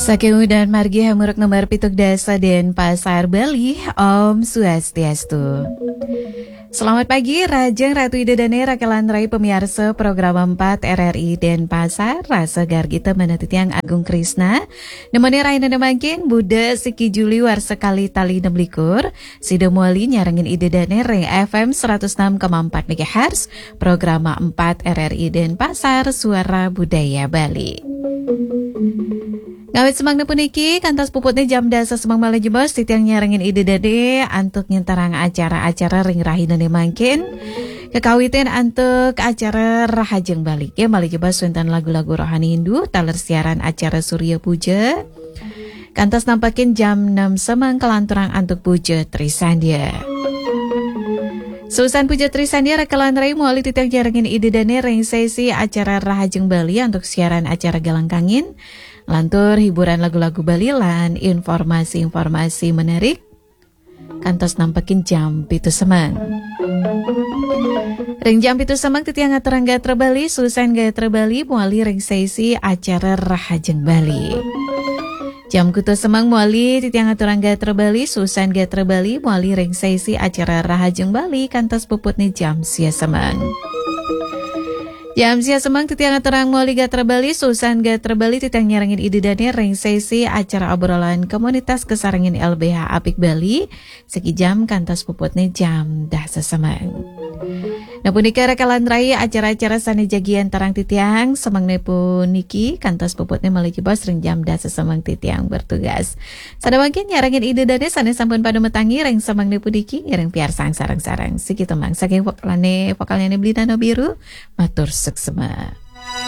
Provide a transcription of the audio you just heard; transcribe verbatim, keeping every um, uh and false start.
Saking udan margi hamuruk nomor pitung dasa Denpasar, Bali. Om Swastiastu. Selamat pagi, rahajeng Ratu Ida Dane, raka lan rai pamiarsa Program empat R R I Denpasar, rasa gargita manah titiang Agung Krisna. Nemoni rahina mangkin, Buda siki Juli warsa kalih tali enam likur, sida mawali nyarengin Ida Dane ring F M seratus enam koma empat megahertz, Programa empat R R I Denpasar, Suara Budaya Bali. Ngawit semengna puniki, kantos puputne jam dasa semeng malih jebos, titiang nyarengin Ida Dane antuk nyentarang acara-acara ring rahinane mangkin. Kakawitin antuk acara Rahajeng Bali. Ya, malih jebos wenten lagu-lagu rohani Hindu, taler siaran acara Surya Puja. Kantos nampekin jam enam semeng kalanturang antuk Puja Trisandya. Susan Puja Trisandya, raka lan rai mawali titiang nyarengin Ida Dane ring sesi acara Rahajeng Bali antuk siaran acara Galang Kangin. Lantur hiburan lagu-lagu Bali lan informasi-informasi menarik. Kantos nampekin jam pitu semeng. Ring jam pitu semeng titiang aturang gatra Bali, Susan Gatra Bali, mawali ring sesi acara Rahajeng Bali. Jam kutus semeng mawali titiang aturang gatra Bali, Susan Gatra Bali, mawali ring sesi acara Rahajeng Bali, kantos puputne jam sia semeng. Jam sia semeng titiang aturang mawali gatra Bali, Susan Gatra Bali, titiang nyarengin Ida Dane ring sesi acara obrolan komunitas kasarengin L B H Apik Bali, siki jam kantos puputne jam dasa semeng. Nah, punika raka lan rai acara-acara sane jagi antarang titiang, semengne puniki kantos puputne malih jebos ring jam dasa semeng titiang bertugas. Sada mangkin nyarengin Ida Dane sane sampun pada matangi ring semengne puniki, ngiring piarsang sareng-sareng. Siki tembang saking vokalane, vokalnyane Blina Nobiru, matur suksma.